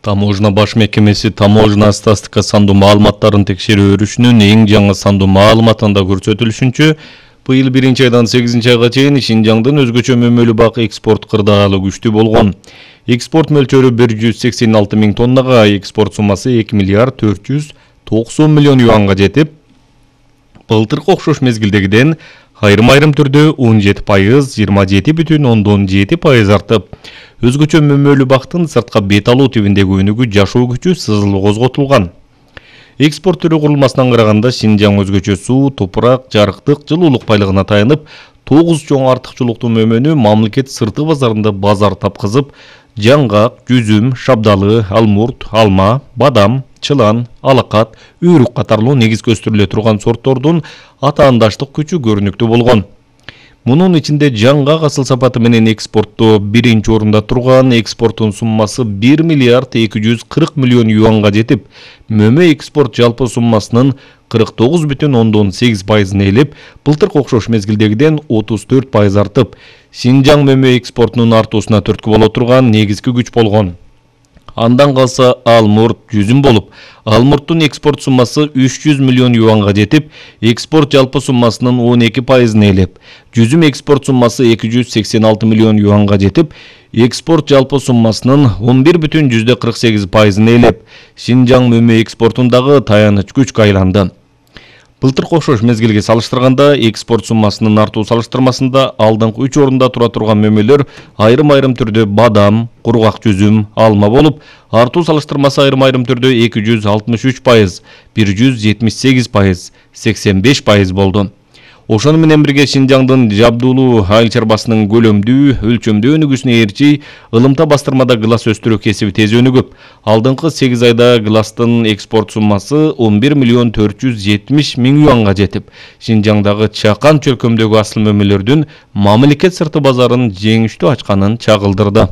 Таможна баш мекемеси таможна статистика сандуу маалыматтарын текшерүү өрүшүнүн эң жаңы сандуу маалыматында көрсөтүлүшүнчө, быйыл 1-айдан 8-айга чейин Шинжаңдын өзгөчө мөмөлүү бак экспорт кырдаалы күчтүү болгон. Экспорт мөлчөрү 186 миң тоннага, экспорт суммасы 2 миллиард 490 миллион юанга жетип, былтыркы окшош мезгилдегиден айрым түрдө 17%, 27,7% артып, өзгөчө мөмөлүү бактын сыртка бет алуу тибиндеги өнүгүү жашоо күчү сызылуу козготулган. Экспорт түрү курулмасынан караганда Шинжаң өзгөчө суу, топурак, жарыктык, жылуулук байлыгына таянып, 9 чоң артыкчылыктуу мөмөнү мамлекет сырты базарында базар тапкызып, жаңгак, жүзүм, шабдалы, алмурт, алма, бадам, чылан, алакат, үйрүк катарлуу негизги өстүрүлө турган сорттордун атаандаштык күчү көрүнүктүү болгон. Мунун ичинде жаңгак асыл сапаты менен экспортто 1-орунда турган, экспорттун суммасы 1 миллиард 240 миллион юанга жетип, мөмө экспорт жалпы суммасынын 49,8% ээлеп, былтыркы окшош мезгилдегиден 34% артып, Шинжаң мөмө экспортунун артуусуна түрткү боло турган негизги күч болгон. Андан калса алмурт, жүзүм болуп, алмурттун экспорт суммасы 300 миллион юанга жетип, экспорт жалпы суммасынын 12% ээлеп, жүзүм экспорт суммасы 286 миллион юанга жетип, экспорт жалпы суммасынын 11,48% ээлеп, Шинжаң мөмө экспортундагы таяныч күчкө айланды. Былтыркы окшош мезгилге салыштырганда экспорт суммасынын артуу салыштырмасында алдыңкы 3 орунда тура турган мөмөлөр айрым түрдө бадам, кургак жүзүм, алма болуп, артуу салыштырмасы айрым түрдө 263%, 178%, 85% болду. Ошону менен бирге Шинжаңдын жабдуулуу айыл чарбасынын көлөмдүү, өлчөмдүү өнүгүүсүнө ээрчи ылымта бастырмада глас өстүрүү кесиби тез өнүгүп, алдыңкы 8 айда гластын экспорт суммасы 11 миллион 470 миң юанга жетип, Шинжаңдагы чакан чөлкөмдөгү асыл мөмөлөрдүн мамлекет сырты базарын жеңиштүү ачканын чагылдырды.